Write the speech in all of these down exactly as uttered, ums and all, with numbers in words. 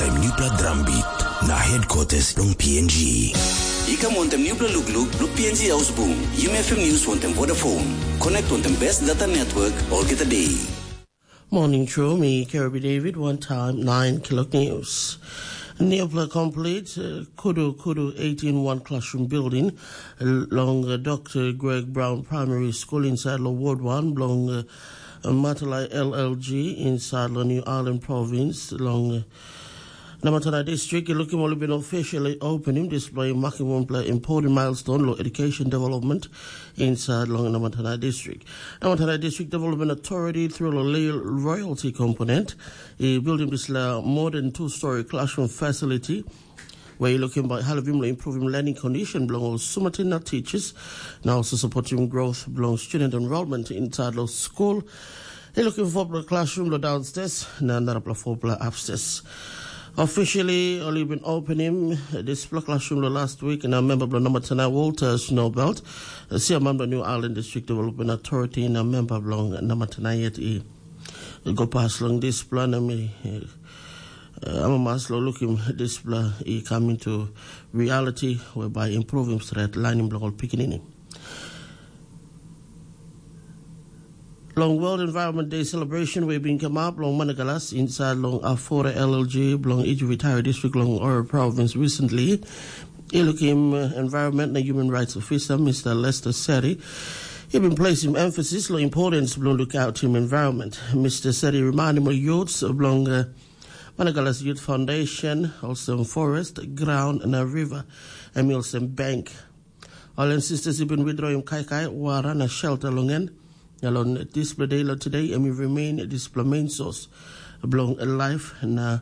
Taim nupla drambit na headquarters long P N G. I kam wantem nupla lukluk long P N G Ausbung, Yumi F M News wantem Vodafone. Connect wantem best data network olgeta day. Morning, True. Me, Kirby David, one time, nine Kilok News. Neopla complete, uh, Kudu Kudu eighteen one classroom building, uh, long uh, Doctor Greg Brown Primary School inside lo Ward one, belong uh, Matalai L L G, inside lo New Island Province, long uh, Namatanai District, i lukim ol i bin officially opening display marking wanpela important milestone lo education development inside long Namatanai District. Namatanai District Development Authority through lo Lil Royalty Component, i building this la more than two-story classroom facility where you looking by halvim lo improving learning condition belong all sumatin na teachers, now also supporting growth belong student enrollment inside lo school. He looking for a classroom lo downstairs, na another for upstairs. Officially, only been opening this classroom lo last week, and a member of Namatana Walter Snowbelt, a chairman of New Island District Development Authority, and a member of Namatana yet. I go past long this plan, I mean, uh, I'm a mas lo looking this plan, he come into reality whereby improving threat lining block all pickaninny. Long World Environment Day celebration we bin come up long Managalas inside long Afora L L G belong Iju Vitari District long Oro Province recently. Ilukim uh, Environment na Human Rights Officer Mister Lester Seri, he been placing emphasis long importance belong look out him environment. Mister Seri remind him of youths belong uh, Managalas Youth Foundation, also forest, ground na river, and also bank. All ancestors have been withdrawing kaikai, wara na shelter long en. Na long dispela day lo today, em i remain dispela main source bilong life na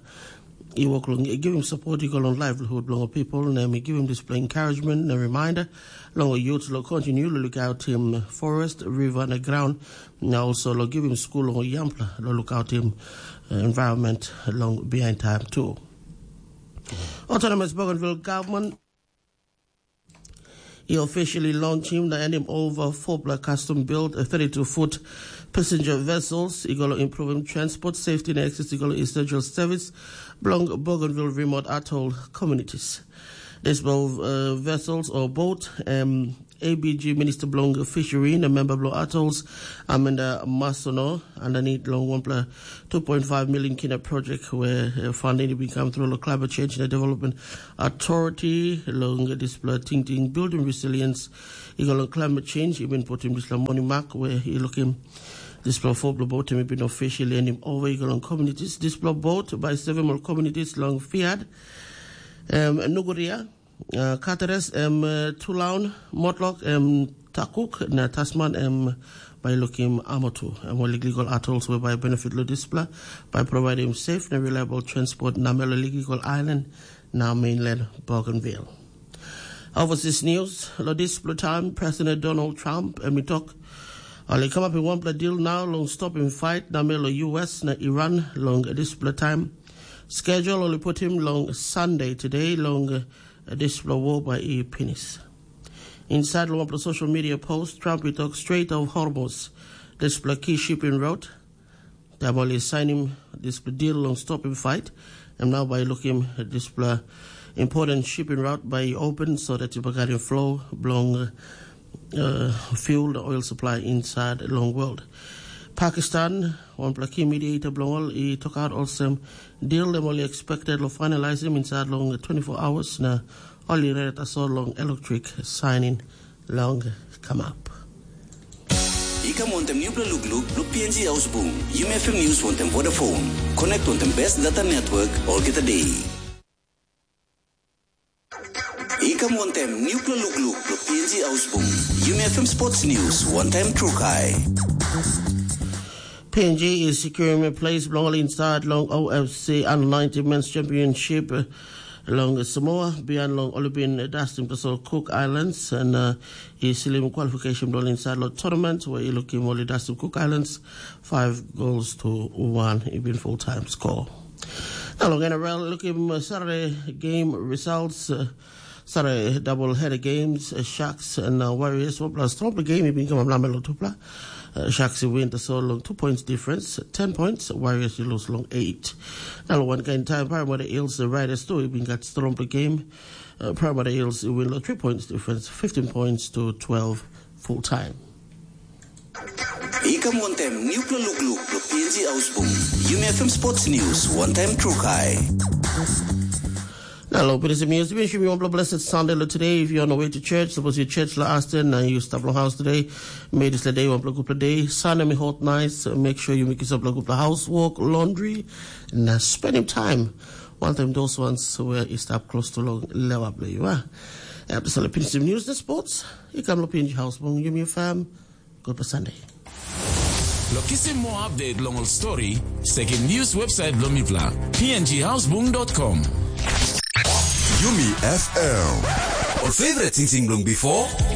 i wok long giving support i go long livelihood bilong ol people, na em i giving dispela encouragement na reminder long ol youth lo continue lo look out him forest, river na ground, na also lo giving school long ol young people lo look out him uh, environment long behind time too. Autonomous Bougainville government he officially launched him na hand him over four black custom built a thirty-two foot passenger vessels. He gonna improve him transport safety and access to essential service belong Bougainville remote atoll communities. These both uh, vessels or boat um, A B G Minister belong Fishery and a member belong Atolls Amanda Masono underneath long one plus two point five million kina project where uh, funding will come through the climate change and development authority long this blood ting ting building resilience. He go long climate change, even put him this money mark where he look him this blood four blood boat him been officially and him over he go long communities. This blood boat by seven more communities long Fiad, um, Nuguria, uh, Kateres, um, uh, Tulaun, Motlok, um, Takuk na Tasman em by looking Amotu and more legal atolls whereby benefit lo displa by providing safe and reliable transport na melo legal island na mainland Bougainville. Overseas news, lo displa time President Donald Trump em i tok, ol i kamapim wanpela deal nau long stopim fight na melo U S na Iran long displa time. Schedule ol i putim long Sunday today long uh, dispela war by i pinis. Inside long wanpela social media post, Trump i tok Strait of Hormuz, dispela key shipping route. Taim ol i sainim dispela deal long stopim fight, em nau bai lukim dispela important shipping route bai i open so that i bagarim flow bilong uh, fuel the oil supply inside long world. Pakistan, wanpela key mediator bilong ol i tokaut olsem deal dem ol i expected lo finalizim inside long twenty-four hours na ol i red tasol long electric signing long kamap. I kam wantem nupela lukluk lo P N G Ausbung, Yumi F M News wantem Vodafone. Connect wantem best data network olgeta day. I kam wantem nupela lukluk lo P N G Ausbung, Yumi F M Sports News wantem Trukai. P N G is securing a place belong inside long O F C under nineteen men's championship long Samoa, bihain long ol i bin dustim tasol Cook Islands, and uh, i silim qualification bilong inside long tournament where i lukim ol i dustim Cook Islands five goals to one, i bin full time score. Na long N R L, lukim uh, Saturday game results, uh, Saturday double header games, uh, Sharks and uh, Warriors, one plus triple game, i bin kamap namel long tupla. Uh, Sharks i win tasol long two points difference, ten points, Warriors i lose long eight. Na long wankain taim Parramatta Eels Riders tu i bin gat strongpela game. Uh, Parramatta Eels i win long three points difference, fifteen points to twelve full time. I kam wantaim nupela lukluk lo P N G Ausbung. Yumi F M Sports News, wantaim Trukai. Na lo pinisim news, we wish you one blessed Sunday lo today. If you're on the way to church, suppose your church la Aston and you stop long house today, may this day one good day. Sunday me hot nice. Make sure you make yourself a good housework, laundry, and uh, spending time. One time those ones where you stop close to long lewa play you are. Episode of Pinisim News, the sports. You come lo P N G House, bong you me fam. Good for Sunday. Lo kisim moa update long ol stori, sekim news website bilong mipela, p n g housebung dot com. Yumi F M. Ol favorite sing sing bilong before?